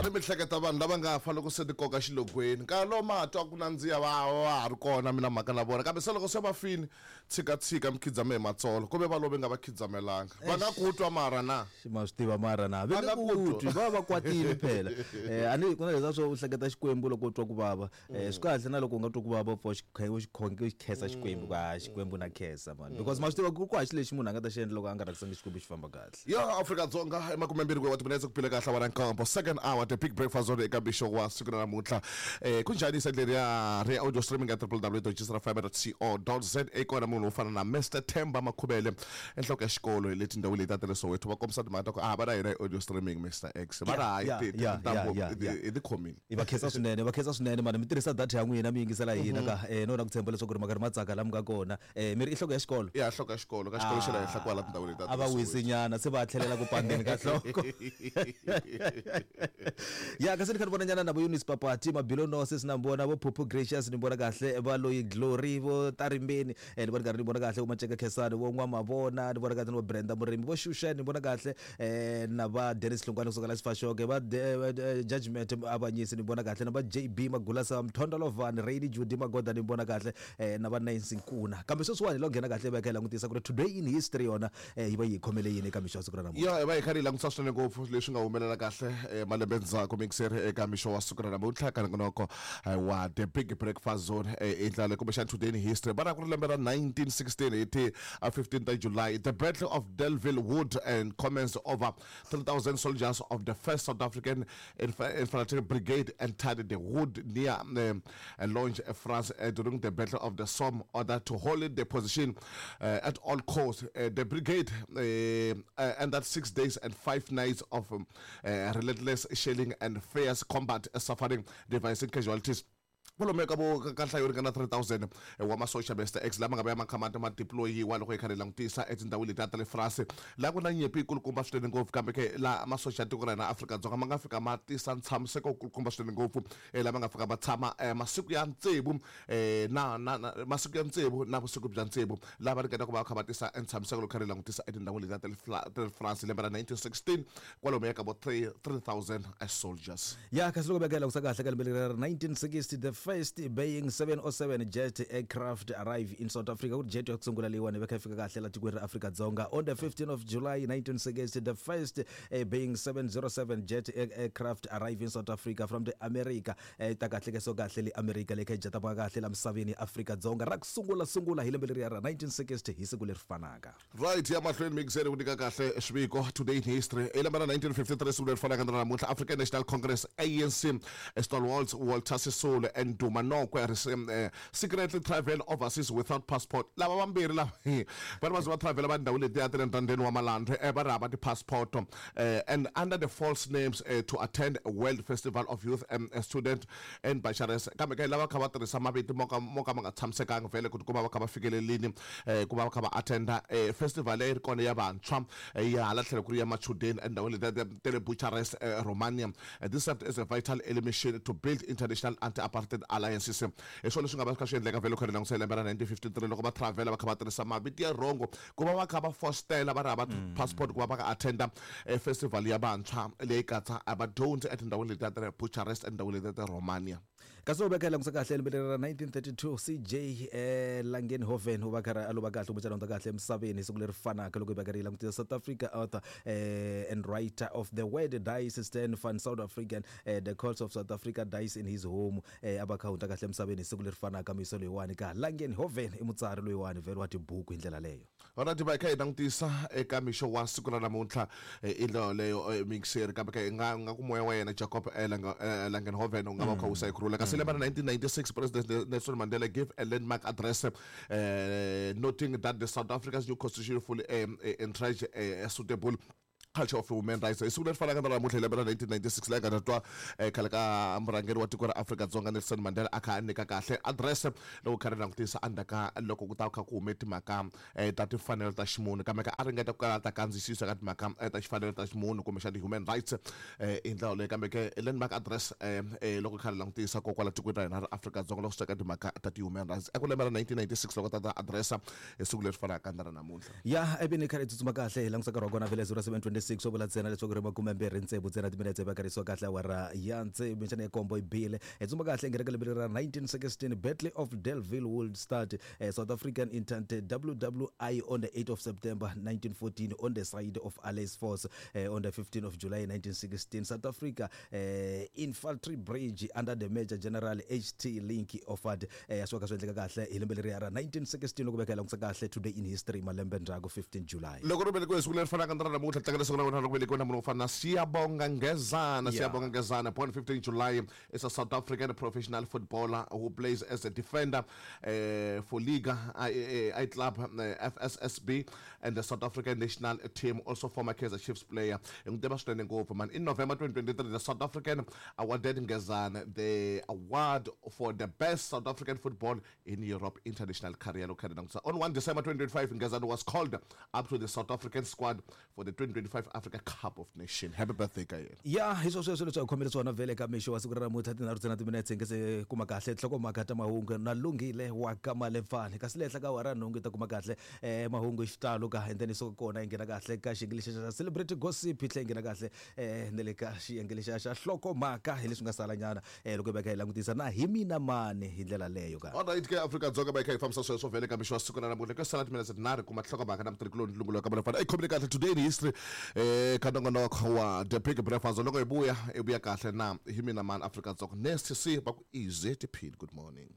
A ni mi hleketa vanhu lava nga fa loko se ti koka xilogweni nkarhi lowu ma ha twa ku nandziha va va ha ri kona mi na mhaka na vona kambe se loko se va fini tshika tshika mi khidzame hi matsolo ku ve va love nga va khidzamelanga va nga ku twa mara na ma swi tiva mara na Va va nga nge ku ku twi twa. va va kwatile phela a ni ku na leswiya swo u hleketa xikwembu loko u twa ku vava swi kahle na loko u nga twa ku vava u pfa u xi u xi u xi khensa xikwembu ku ha xikwembu na khensa mani because ma swi tiva ku hava xilo lexi munhu a nga ta xi endla loko a nga rhangisangi xikwembu xi famba kahle. Ya Afrika-Dzonga emakumembirhi wa timinetse ku phile kahle wa nkombo second hour the big breakfast zone eka mixo wa siku ra namuntlha ku njhani side leriya ri audio streaming ka www.gsrfm.co.za kona munhu wo fana na Mr Themba Makhubele enhloko ya xikolo hi le tindhawu leti ta le Soweto va kombisa timhaka ta ku a va na hina hi audio streaming Mr X va ri hayi tintambu hi ti khomile. Hi va khensa swinene, va khensa swinene mani mi tirhisa data ya n'wina mi yingisela hina ka no na ku tshemba leswaku ri ma karhi ma tsaka la mi nga kona. Mi ri i nhloko ya xikolo? Ya nhloko ya xikolo ka xikolo xa le henhla kwala tindhawini leti A va wisi nyana se va tlhelela ku pandeni ka nhloko. Ya kasi ni kha ni vona nyana na vo Eunice Papati, Mabilo Nose na vona vo Phuphu Gracious ni vona kahle va loyi Glory vo Tarimbeni ni vona karhi ni vona kahle vo Maceka Khensani vo N'wamavona ni vona kahle ni vo Brenda Murimi vo Xuxa ni vona kahle na va Dennis Hlongwane kusuka la Sifashoke va Judgment Avanyisi ni vona kahle na va JB Magulasa Mthonda Lovani Rainy Judy Magoda ni vona kahle na va Nancy Nkuna kambe sweswiwani hi lo nghena kahle va kha hi langutisa ku ri today in history yona yi va yi hi khomele yini eka mixo wa siku ra namuntlha. Ya hi va hi karhi hi langutisa swinene ngopfu leswi nga humelela kahle malembe ndzhaku mixer eka mixo wa siku ra namuntlha ka nongonoko wa The Big Breakfast Zone i ndlela leyi kumbexana today in history va ra ku ri lembe ra 1916 hi ti 15 ta July the Battle of Delville Wood and commenced over 3000 soldiers of the 1st South African Infantry Brigade entered the wood near Longe, France during the Battle of the Somme order to hold the position at all costs. The brigade ended 6 days and 5 nights of relentless shelling and fierce combat, suffering devastating casualties. Kwalomuya ka vo ka nhlayo yo ringana 3000 wa masocha Mister X lama nga vuya ma kha ma ma deployiwa loko hi karhi hi langutisa etindhawini letiya ta le France laha ku na nyimpi yikulukumba swinene ngopfu kambe ke laha masocha ya tiko ra hina Afrika-Dzonga ma nga fika ma tisa ntshamiseko wukulukumba swinene ngopfu lama nga fika ma tshama masiku ya tsevu na na na masiku ya tsevu na vusiku bya tsevu laha va ringeta ku va va kha va tisa ntshamiseko loko karhi hi langutisa etindhawini letiya ta le ta le France lembe ra 1916 kwalomuya ka vo 3000 soldiers. Ya kasi loko veka hi langutisa kahle ka lembe leri ra 1960 the first Boeing 707 jet aircraft arrive in South Africa ku ri jet ya ku sungula leyiwani veka yi fika kahle la tikweni ra Afrika-Dzonga on the 15 of July 1960 the first Boeing 707 jet aircraft arrive in South Africa from the America yi ta kahle ke so kahle le America leyi kha yi jeta kahle la misaveni ya Afrika-Dzonga ra ku sungula sungula hi lembe leriya ra 1960 hi siku leri fanaka. Right ya mahlweni mixer ku nyika kahle swiviko today in history hi lembe ra 1953 siku leri fanaka na namuntlha African National Congress ANC stalwarts Walter Sisulu and Duma Nokwe secretly travel overseas without passport lava vambirhi lava va ri va ze va travel va ndhawu letiya ta le ndzandeni wa malandwe va ri hava ti-passport and under the false names to attend World Festival of Youth and Student and Bucharest kambe ke lava kha va tirhisa mavito mo ka mo ka ma nga tshamisekanga vhele ku tikuma va kha va fikelelini ku va va kha va attenda festival leyi ri kona ya vantshwa ya hala tlhelo ku ri ya machudeni endhawini letiya ta le Bucharest Romania. This served as a vital mission to build international anti-apartheid alliances. Hi swona leswi nga va swi kha swi endleka vhele loko hi langutisa hi lembe ra 1953 loko va travel va kha va tirhisa mavito ya wrong ku va va kha va fostela va ri hava passport ku va va ka attenda festival ya vantshwa leyi katsa vadyondzi etindhawini letiya ta le Bucharest etindhawini letiya ta Romania. Kasi u veka langutisa kahle lembe leri ra 1932 CJ Langenhoven u va karhi a lova kahle kumbexana hundza kahle emisaveni hi siku leri fanaka loko hi va karhi hi langutisa South Africa author and writer of The Word Dies Stan van South African The Calls of South Africa Dies in His Home a va kha hundza kahle emisaveni hi siku leri fanaka mixo loyiwani ka Langenhoven i mutsari loyiwani vhele wa tibuku hi ndlela leyo. Alright va hi kha hi langutisa eka mixo wa siku ra namuntlha i ndlela yoleyo mixer kambe ka nga nga ku moya wa yena Jacob Langenhoven u nga va u kha wisa hi kurhula kasi lembe ra 1996 President Nelson Mandela gave a landmark address noting that the South Africa's new constitution fully entrenched a suitable culture of human rights hi siku leri fanaka na namuntlha hi lembe ra 1996 laha nga ta twa khale ka murhangeri wa tiko ra Afrika-Dzonga Nelson Mandela a kha a nyika kahle address loko kha ri langutisa endzhaku ka loko ku ta kha ku hume timhaka ta timfanelo ta ximunhu kambe ka a ringeta ku kala ta kandziyisisa ka timhaka ta xifanelo ta ximunhu kumbexana ti-human rights hi ndlela yoleyo kambe ke landmark address loko kha ri langutisa ko kwala tikweni ra hina ra Afrika-Dzonga loko swi ta ka timhaka ta ti-human rights eku lembe ra 1996 loko ta ta addressa hi siku leri fanaka na ra namuntlha. Ya ivi ni kha hi tsutsuma kahle hi langusa nkarhi wa kona vhele 0726. 26 swo vula ntsena leswaku ri 26 ntsena timinetse va karisiwa kahle awara ya tsevu minxana ya kombo yi bile. Hi tsumba kahle nghena ka lembe ra 1916, Battle of Delville Wood start, South African Entente WWI on the 8th of September 1914 on the side of Allies force. On the 15th of July 1916, South Africa Infantry Bridge under the Major General HT Link offered. Swi va kha swi endleka kahle hi lembe leriya ra 1916 loko veka hi langutisa kahle today in history malembe ndzhaku 15 July. Loko ri velekiwe siku leri fanaka na ra namuntlha, tlangela siku ra wena ra ku velekiwa na munhu wo fana na Siyabonga Ngezana. Siyabonga Ngezana, born 15 July, is a South African professional footballer who plays as a defender for Liga I Club FSSB and the South African national team, also former Kaizer Chiefs player. Hi n'wi tiva swinene ngopfu man. In November 2023, the South African awarded Ngezana the award for the best South African football in Europe international career. Loko kha langutisa, on 1 December 2025, Ngezana was called up to the South African squad for the 2025 Africa Cup of Nations. Happy birthday ka yena. Ya, hi swo sweswo leswi hi khomele swona vhele ka mixo wa siku ra namuntlha, tinharhu ntsena timinetse nge se kuma kahle nhlokomhaka ta mahungu na Lunghile wa ka Malefani. Kasi le henhla ka awara nhungu hi ta kuma kahle mahungu hi xitalo ka, and then hi suka kona hi nghena kahle ka xiyenge lexiya xa celebrity gossip, hi tlhela hi nghena kahle na le ka xiyenge lexiya xa nhlokomhaka hi leswi nga salanyana loko hi va hi kha hi langutisa na hi mina mani hi ndlela leyo ka. Alright ke, Afrika-Dzonga, va hi kha hi fambisa sweswo vhele ka mixo wa siku ra namuntlha. Ku sala timinetse tinharhu kuma nhlokomhaka na mutirhikuloni Lungulo ka Malefana. I khomile kahle today in history ka nongonoko wa The Big Breakfast. Loko hi vuya, hi vuya kahle na hi mina mani, Afrika-Dzonga. Next, see va ku easy tiphini. Good morning.